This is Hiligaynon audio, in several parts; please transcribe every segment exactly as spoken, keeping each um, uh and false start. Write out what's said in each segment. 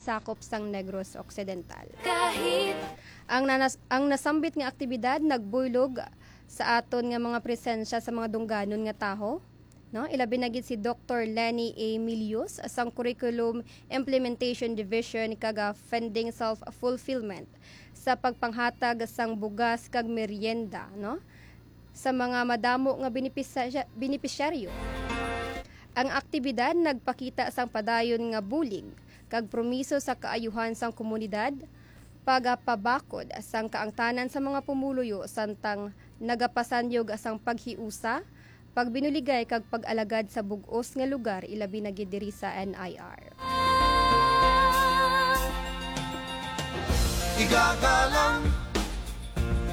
sakop sang Negros Occidental. Kahit Ang nanas-, ang nasambit nga aktibidad nagbuylog sa aton nga mga presensya sa mga dungganon nga tawo, no? Ilabi na gid si Doktor Lenny A. Milius sang Curriculum Implementation Division kag, ah, Funding Self-Fulfillment sa pagpanghatag sang bugas kag merienda, no, sa mga madamo nga benepisya-, benepisyaryo. Ang aktibidad nagpakita sang padayon nga bulig kag promiso sa kaayuhan sang komunidad, pagapabakod sang kaangtanan sa mga pumuluyo samtang nagapasanyog sang paghiusa, pagbinuligay kag pag-alagad sa bug-os nga lugar, ilabi na gid diri sa N I R. Igagalang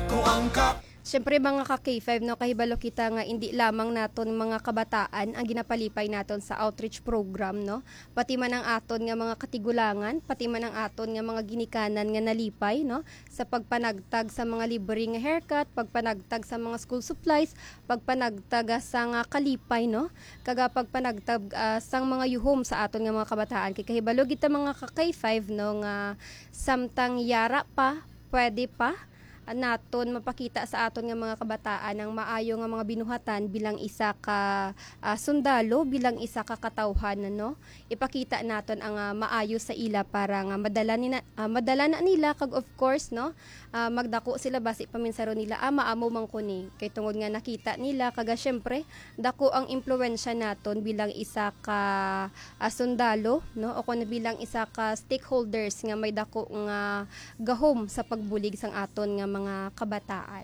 ko ang kap- Siyempre, mga ka K five, no, kahibalo kita nga indi lamang naton mga kabataan ang ginapalipay naton sa outreach program, no? Pati man ang aton nga mga katigulangan, pati man ang aton nga mga ginikanan nga nalipay, no, sa pagpanagtag sa mga libre nga haircut, pagpanagtag sa mga school supplies, pagpanagtag, ah, sa nga kalipay, no, kag, ah, pagpanagtag, ah, sang mga yuhom sa aton nga mga kabataan. Kay kahibalo gid ta, mga ka K five, no, nga samtang yara pa, pwede pa, ah, naton mapakita sa aton nga mga kabataan ang maayo nga mga binuhatan bilang isa ka, ah, sundalo, bilang isa ka katawhan, no? Ipakita naton ang, ah, maayo sa ila para nga madala nina-, ah, madala na nila, kag of course, no, ah, magdako sila basi paminsaro nila, "Ah, maamo man ko ni." Kay tungod nga nakita nila, kag, ah, syempre, dako ang impluwensya naton bilang isa ka, ah, sundalo, no, o kon bilang isa ka stakeholders nga may dako nga gahom sa pagbulig sang aton nga mga kabataan.